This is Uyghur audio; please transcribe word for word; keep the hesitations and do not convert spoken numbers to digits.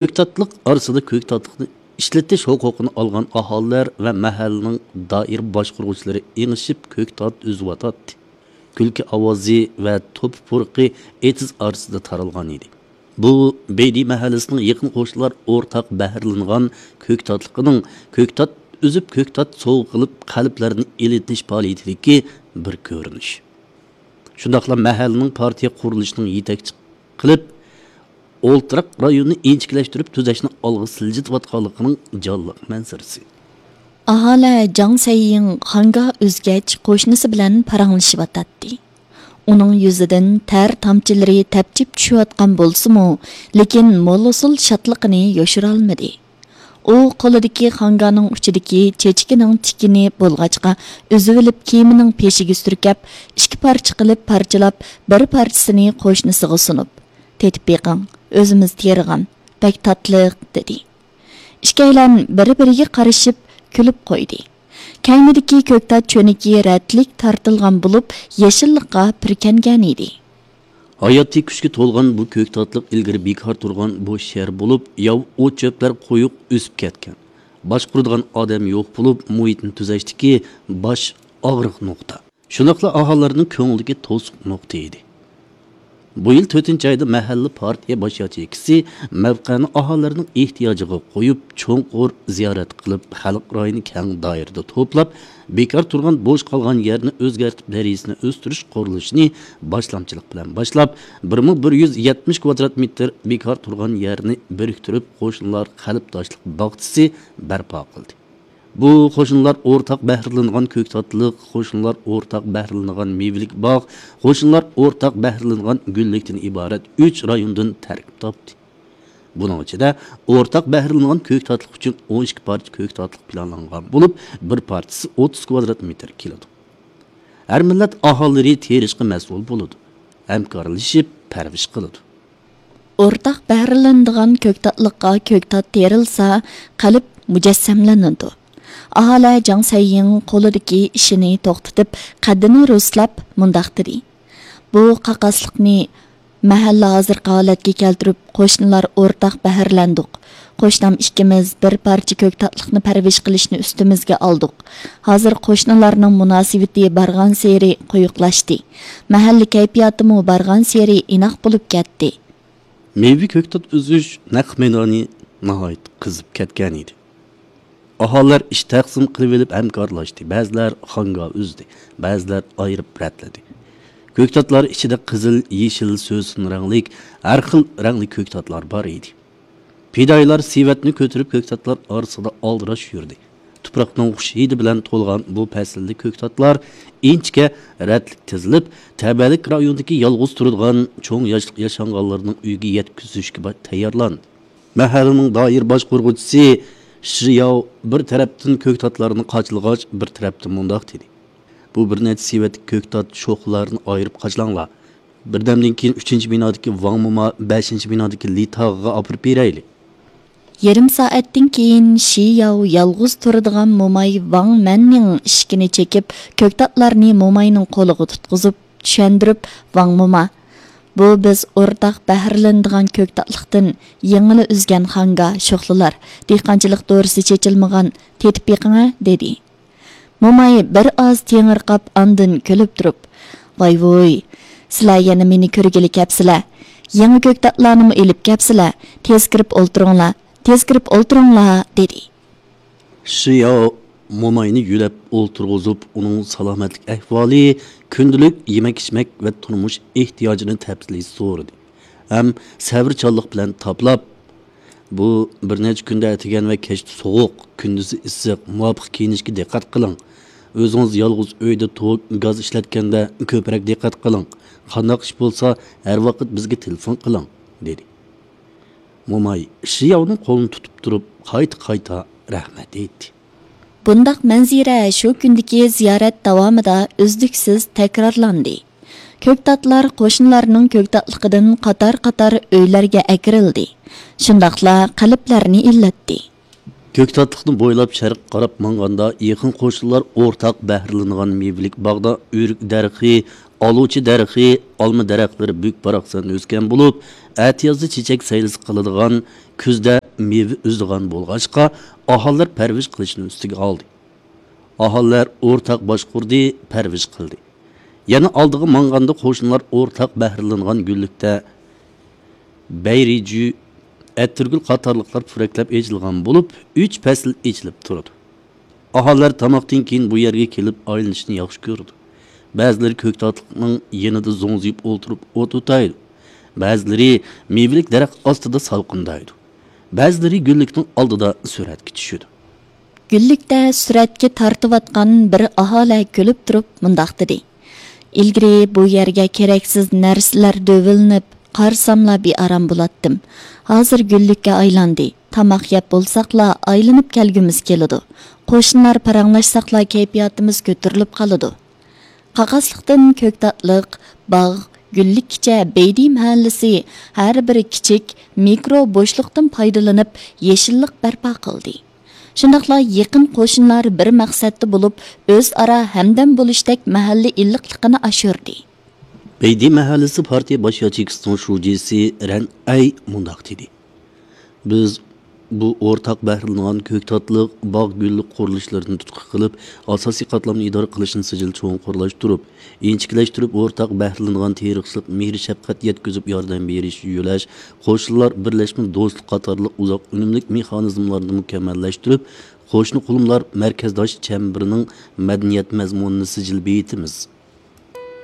كۆكتاتلىق ئارىسىدا كۆكتاتلىقنى ئىشلىتىش ھوقۇقىنى ئالغان ئاھالىلەر ۋە مەھەللىنىڭ دائىرە باشقۇرغۇچىلىرى ئېڭىشىپ كۆكتات ئۈزۈۋاتاتتى. كۈلكە ئاۋازى ۋە توپا پۇرىقى ئېتىز ئارىسىدا تارالغان ئىدى. بۇ بېيدى مەھەللىسىنىڭ يېقىن قوشنىلار ئورتاق بەھرىلىنىدىغان كۆكتاتلىقىنىڭ كۆكتات ئۈزۈپ كۆكتات سوۋغا قىلىپ قەلبلەرنى ئېلىتىش پائالىيىتىدىكى بىر كۆرۈنۈش. شۇنداقلا مەھەللىنىڭ پارتىيە قۇرۇلۇشىنىڭ يېتەكچى قىلىپ، ئولتۇراق رايوننى ئىنچىكىلەشتۈرۈپ تۈزەشنى ئالغا سىلجىتىۋاتقانلىقىنىڭ جانلىق مەنزىرىسى. ئاھالە جاڭ سەييىڭ خاڭگا ئۆزگەچ قوشنىسى بىلەن پاراڭلىشىۋاتاتتى. ئۇنىڭ يۈزىدىن تەر تامچىلىرى تەپچىپ چۈشۈۋاتقان بولسىمۇ، لېكىن مول ئۇسۇل شادلىقىنى يوشۇرالمىدى. ئۇ قولىدىكى خاڭگانىڭ ئۇچىدىكى چېچىكىنىڭ تىكىنى بولغاچقا، ئۈزۈۋېلىپ كىيىمىنىڭ پېشىگە سۈركەپ، ئىككى پارچە قىلىپ پارچىلاپ، بىر پارچىسىنى قوشنىسىغا سۇنۇپ، تېتىپ بېقىڭ، ئۆزىمىز تېرىغان، بەك تاتلىق، دېدى. ئىككىيلەن بىر-بىرىگە قارىشىپ كۈلۈپ قويدى. كەينىدىكى كۆكتات چۆنىكى رەتلىك تارتىلغان بولۇپ، يېشىللىققا پۈركەنگەن ئىدى. ھاياتىي كۈچكە تولغان بۇ كۆكتاتلىق ئىلگىرى بىكار تۇرغان بوش يەر بولۇپ، ياۋا ئوت-چۆپلەر قويۇق ئۆسۈپ كەتكەن. باشقۇرىدىغان ئادەم يوق بولۇپ، مۇھىتنى تۈزەشتىكى باش ئاغرىق نۇقتا. شۇنداقلا ئاھالىلەرنىڭ كۆڭلىدىكى توسۇق نۇقتا ئىدى. بۇ يىل تۆتىنچى ئايدا مەھەللە پارتىيە باش ياچېيكىسى مەۋقەنى ئاھالىلەرنىڭ ئېھتىياجىغا قويۇپ، چوڭقۇر زىيارەت قىلىپ، خەلق رايىنى كەڭ دائىرىدە توپلاپ، بىكار تۇرغان بوش قالغان يەرنى ئۆزگەرتىپ، دەرىجىسىنى ئۆستۈرۈش قۇرۇلۇشىنى باشلامچىلىق بىلەن باشلاپ، بىر مىڭ بىر يۈز يەتمىش كۋادرات مېتىر بىكار تۇرغان يەرنى بىرىكتۈرۈپ، قوشنىلار قەلبداشلىق باغچىسى بەرپا قىلدى. بۇ قوشنىلار ئورتاق بەھرىلىنىدىغان كۆكتاتلىق، قوشنىلار ئورتاق بەھرىلىنىدىغان مېۋىلىك باغ، قوشنىلار ئورتاق بەھرىلىنىدىغان گۈللۈكتىن ئىبارەت ئۈچ رايوندىن تەركىب تاپتى. بۇنىڭ ئىچىدە ئورتاق بەھرىلىنىدىغان كۆكتاتلىق ئۈچۈن ئون ئىككى پارچە كۆكتاتلىق پىلانلانغان بولۇپ، بىر پارچىسى ئوتتۇز كۋادرات مېتىر كېلىدۇ. ھەر مىللەت ئاھالىلىرى تېرىشقا مەسئۇل بولىدۇ، ھەمكارلىشىپ پەرۋىش قىلىدۇ. ئورتاق بەھرىلىنىدىغان كۆكتاتلىققا كۆكتات تېرىلسا، قەلب مۇجەسسەملىنىدۇ. ئاھالە جاڭ سەييىڭ قولىدىكى ئىشىنى توختىتىپ، قەددىنى رۇسلاپ مۇنداق دېدى: بۇ قاقاسلىقنى مەھەللە ھازىرقى ھالەتكە كەلتۈرۈپ، قوشنىلار ئورتاق بەھرىلەندۇق. قوشنام ئىككىمىز بىر پارچە كۆكتاتلىقنى پەرۋىش قىلىشنى ئۈستىمىزگە ئالدۇق. ھازىر قوشنىلارنىڭ مۇناسىۋىتى بارغانسېرى قويۇقلاشتى. مەھەللە كەيپىياتىمۇ بارغانسېرى ئىناق بولۇپ كەتتى. مېۋە كۆكتات ئۈزۈش نەق مەيدانى ناھايىتى قىزىپ كەتكەن ئىدى. ئاھالىلەر ئىش تەقسىم قىلىۋېلىپ ھەمكارلاشتى. بەزىلەر خاڭگا ئۈزدى، بەزىلەر ئايرىپ رەتلىدى. كۆكتاتلار ئىچىدە قىزىل، يېشىل، سۆسۈن رەڭلىك، ھەر خىل رەڭلىك كۆكتاتلار بار ئىدى. پىدائىيلار سېۋەتنى كۆتۈرۈپ، كۆكتاتلار ئارىسىدا ئالدىراش يۈردى. تۇپراقنىڭ خۇش ھىدى بىلەن تولغان بۇ پەسىلدە كۆكتاتلار ئىنچىكە رەتلىك تىزىلىپ، تەبەلىك رايونىدىكى يالغۇز تۇرىدىغان چوڭ ياشلىق ياشانغانلارنىڭ ئۆيىگە يەتكۈزۈشكە با-، تەييارلاندى. مەھەللىنىڭ دائىرە باشقۇرغۇچىسى شىياۋ بىر تەرەپتىن كۆكتاتلارنى قاچىلىغاچ، بىر تەرەپتىن مۇنداق دېدى: بۇ بىر نەچچە سېۋەتلىك كۆكتات شوخلىلارنى ئايرىپ قاچىلاڭلار. بىردەمدىن كېيىن ئۈچىنچى بىنادىكى ۋاڭ موما، بەشىنچى بىنادىكى لى تاغىغا ئاپىرىپ بېرەيلى. يېرىم سائەتتىن كېيىن شى ياۋ يالغۇز تۇرىدىغان موماي ۋاڭ مەننىڭ ئىشىكىنى چېكىپ، كۆكتاتلارنى موماينىڭ قولىغا تۇتقۇزۇپ، چۈشەندۈرۈپ، ۋاڭ موما، بۇ بىز ئورتاق بەھرىلىنىدىغان كۆكتاتلىقتىن يېڭىلا ئۈزگەن خاڭگا، شوخلىلار، دېھقانچىلىق دورىسى چېچىلمىغان، تېتىپ بېقىڭە، دېدى. موماي بىر ئاز تېڭىرقاپ، ئاندىن كۈلۈپ تۇرۇپ: ۋاي ۋۇي، سىلەر يەنە مېنى كۆرگىلى كەپسىلە. يېڭى كۆكتاتلارنىمۇ ئېلىپ كەپسىلە. تېز كىرىپ ئولتۇرۇڭلار، تېز كىرىپ ئولتۇرۇڭلار، دېدى. شىياۋ موماينى يۆلەپ ئولتۇرغۇزۇپ، ئۇنىڭ سالامەتلىك ئەھۋالى، كۈندىلىك يېمەك-ئىچمەك ۋە تۇرمۇش ئېھتىياجىنى تەپسىلىي سورىدى ھەم سەۋرچانلىق بىلەن تاپىلاپ، بۇ بىر نەچچە كۈندە ئەتىگەن ۋە كەچتە سوغۇق، كۈندۈزى ئىسسىق، مۇۋاپىق كىيىنىشكە دىققەت قىلىڭ. ئۆزىڭىز يالغۇز ئۆيدە توك، گاز ئىشلەتكەندە كۆپرەك دىققەت قىلىڭ. قانداق ئىش بولسا، ھەر ۋاقىت بىزگە تېلېفون قىلىڭ، دېدى. موماي شىياۋنىڭ قولىنى تۇتۇپ تۇرۇپ، قايتا-قايتا رەھمەت ئېيتتى. بۇنداق مەنزىرە شۇ كۈندىكى زىيارەت داۋامىدا ئۈزلۈكسىز تەكرارلاندى. كۆكتاتلار قوشنىلارنىڭ كۆكتاتلىقىدىن قاتار-قاتار ئۆيلەرگە ئەكىرىلدى. شۇنداقلا قەلبلەرنى ئىللەتتى. كۆكتاتلىقنى بويلاپ شەرققە قاراپ ماڭغاندا، يېقىن قوشنىلار ئورتاق بەھرىلىنىدىغان مېۋىلىك باغدا ئۆرۈك دەرىخى ئالۇچا دەرىخى، ئالما دەرەخلىرى بۈك-باراقسان ئۆسكەن بولۇپ، ئەتىيازدا چېچەك سەيلىسى قىلىدىغان، كۈزدە مېۋە ئۈزىدىغان بولغاچقا، ئاھالىلەر پەرۋىش قىلىشنى ئۈستىگە ئالدى. ئاھالىلەر ئورتاق باشقۇردى، پەرۋىش قىلدى. يەنە ئالدىغا ماڭغاندا قوشنىلار ئورتاق بەھرىلىنىدىغان گۈللۈكتە بەيرىجۈ، ئەتىرگۈل قاتارلىقلار پۈرەكلەپ ئېچىلغان بولۇپ، ئۈچ پەسىل ئېچىلىپ تۇرىدۇ. ئاھالىلەر تاماقتىن كېيىن بۇ يەرگە كېلىپ ئايلىنىشنى ياخشى كۆرىدۇ. بەزىلىرى كۆكتاتلىقنىڭ يېنىدا زوڭزىيىپ ئولتۇرۇپ ئوت ئوتايدۇ. بەزىلىرى مېۋىلىك دەرەخ ئاستىدا سالقىندايدۇ. بەزىلىرى گۈللۈكنىڭ ئالدىدا سۈرەتكە چۈشىدۇ. گۈللۈكتە سۈرەتكە تارتىۋاتقان بىر ئاھالە كۈلۈپ تۇرۇپ مۇنداق دېدى: «ئىلگىرى بۇ يەرگە كېرەكسىز نەرسىلەر دۆۋىلىنىپ، قارىساملا بىئارام بولاتتىم. ھازىر گۈللۈككە ئايلاندى. تاماق يەپ بولساقلا ئايلىنىپ كەلگۈمىز كېلىدۇ. قوشنىلار پاراڭلاشساقلا كەيپىياتىمىز كۆتۈرۈلۈپ قالىدۇ.» قاقاسلىقتىن كۆكتاتلىق، باغ، گۈللۈككىچە بەيدى مەھەللىسى ھەر بىر كىچىك مىكرو بوشلۇقتىن پايدىلىنىپ يېشىللىق بەرپا قىلدى. شۇنداقلا يېقىن قوشنىلار بىر مەقسەتتە بولۇپ، ئۆزئارا ھەمدەم بولۇشتەك مەھەللە ئىللىقلىقىنى ئاشۇردى. بەيدى مەھەللىسى پارتىيە باش ياچېيكىسىنىڭ شۇجىسى رەن ئەي مۇنداق دېدى: «بىز بۇ ئورتاق بەھرىلىنىدىغان كۆكتاتلىق، باغ، گۈللۈك قۇرۇلۇشلىرىنى تۇتقا قىلىپ، ئاساسىي قاتلامنى ئىدارە قىلىشنى سىجىل چوڭقۇرلاشتۇرۇپ، ئىنچىكىلەشتۈرۈپ، ئورتاق بەھرىلىنىدىغان تېرىقچىلىق، مېھىر-شەپقەت يەتكۈزۈپ ياردەم بېرىش، يۆلەش، قوشنىلار بىرلەشمە دوستلۇق قاتارلىق ئۇزاق ئۈنۈملۈك مېخانىزملارنى مۇكەممەللەشتۈرۈپ، قوشنا قۇلۇملار مەركەزداش چەمبىرىنىڭ مەدەنىيەت مەزمۇنىنى سىجىل بېيىتىمىز.»